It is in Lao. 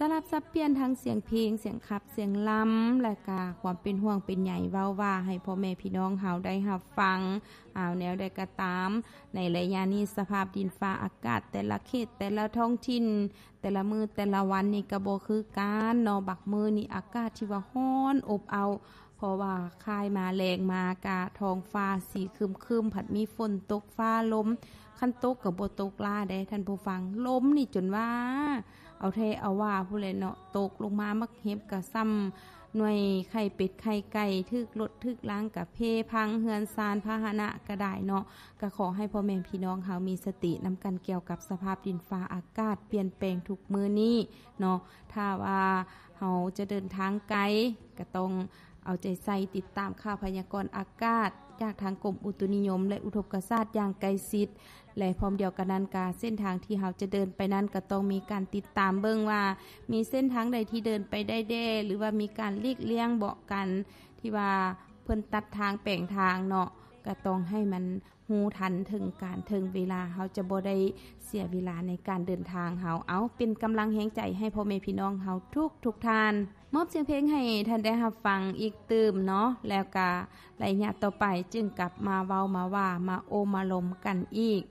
ສະຫຼັບສັບປ່ຽນທັງສຽງເພງ, ສຽງຂັບ, ສຽງລຳ ແລະກະຄວາມເປັນຫ່ວງເປັນໃຍ ເວົ້າວ່າໃຫ້ພໍ່ແມ່ພີ່ນ້ອງເຮົາໄດ້ຮັບຟັງ. ເອົາ ແນວໃດກໍຕາມ, ໃນໄລຍະນີ້ສະພາບດິນຟ້າອາກາດແຕ່ລະເຂດ ແຕ່ລະທ້ອງຖິ່ນ ແຕ່ລະມື້ແຕ່ລະວັນນີ້ກໍບໍ່ຄືກັນເນາະ. ບາງມື້ນີ້ອາກາດທີ່ວ່າຮ້ອນອົບເອົ້າ ເພາະວ່າຄ້າຍມາແລງມາກະທ້ອງຟ້າສີຄຶມໆ ພັດມີຝົນຕົກຟ້າລົມ, ຄັນຕົກກໍບໍ່ຕົກຫຼາຍເດ້ທ່ານຜູ້ຟັງ, ລົມນີ້ຈົນວ່າເອົາແທ້ເອົາວ່າພຸ້ນແຫຼະເນາະ. ຕົກລົງມາໝາກເຫັບກໍສ່ຳໜ່ວຍໄຂ່ເປັດໄຂ່ໄກ່, ຖືກລົດຖືກລາງກໍເພພັງ, ເຮືອນຊານພາຫະນະກໍໄດ້ເນາະ. ກໍຂໍໃຫ້ພໍ່ແມ່ພີ່ນ້ອງເຮົາມີສະຕິນຳກັນກ່ຽວກັບສະພາບດິນຟ້າອາກາດປ່ຽນແປງທຸກມື້ນີ້ເນາະ. ຖ້າວ່າເຮົາຈະເດີນທາງໄກ ກໍຕ້ອງເອົາໃຈໃສ່ຕິດຕາມຂ່າວພະຍາກອນອາກາດຈາກທາງກົມອຸຕຸນິຍົມ ແລະ ອຸທົກກະສາດຢ່າງໃກ້ຊິດ ແລະ ພ້ອມດຽວກັນນັ້ນກະເສັ້ນທາງທີ່ເຮົາຈະເດີນໄປນັ້ນ ກໍຕ້ອງມີການຕິດຕາມເບິ່ງວ່າມີເສັ້ນທາງໃດທີ່ເດີນໄປໄດ້ແດ່ ຫຼືວ່າມີການຫຼີກລ່ຽງເບາະກັນ ທີ່ວ່າເພິ່ນຕັດທາງແປງທາງເນາະ. ກໍຕ້ອງໃຫ້ມັນ ຮູ້ທັນເຖິງການເຖິງເວລາ, ເຮົາຈະບໍ່ໄດ້ເສຍເວລາໃນການເດີນທາງເຮົາ. ເອົາ ເປັນກຳລັງແຮງໃຈໃຫ້ພໍ່ແມ່ພີ່ນ້ອງເຮົາທຸກໆທ່ານ. ມອບສຽງເພງໃຫ້ທ່ານໄດ້ຮັບຟັງອີກຕື່ມເນາະ, ແລ້ວກະໄລຍະຕໍ່ໄປຈຶ່ງກັບມາເວົ້າມາວ່າ ມາໂອ້ມາລົມກັນອີກ.